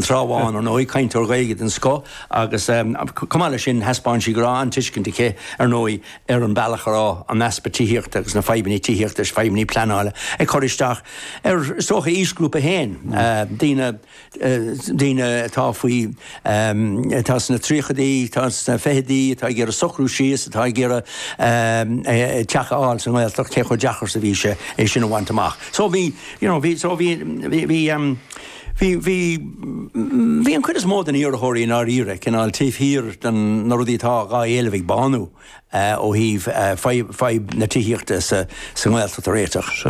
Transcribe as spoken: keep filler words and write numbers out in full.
Trá Bháin ar ndóigh cainteoir Gaeilge den scoth agus chomh maith leis sin thaispeáin sí go raibh an-tuiscint aici ar ndóigh ar an bealach a raibh an easpa tithíochta agus na fadhbanna tithíochta is fadhbanna pleanála ag cur isteach ar is dócha aoisghrúpa féin daoine daoine atá faoi atá sna tríochaidí atá sna fichidí atá ag iarraidh socrú síos atá ag iarraidh teach a fháil sa nGaeltacht cé chomh deacair is a bhí sé é sin a bhaint amach. So bhí you know bhí so bhí bhí bhí bhí bhí bhí an chuid is mó den iarrthóirí i ndáiríre cineál taobh thiar den na rudaí atá dhá éileamh ag Bánú ó thaobh fadhb na tithíochta sa sa nGaeltacht a réiteach.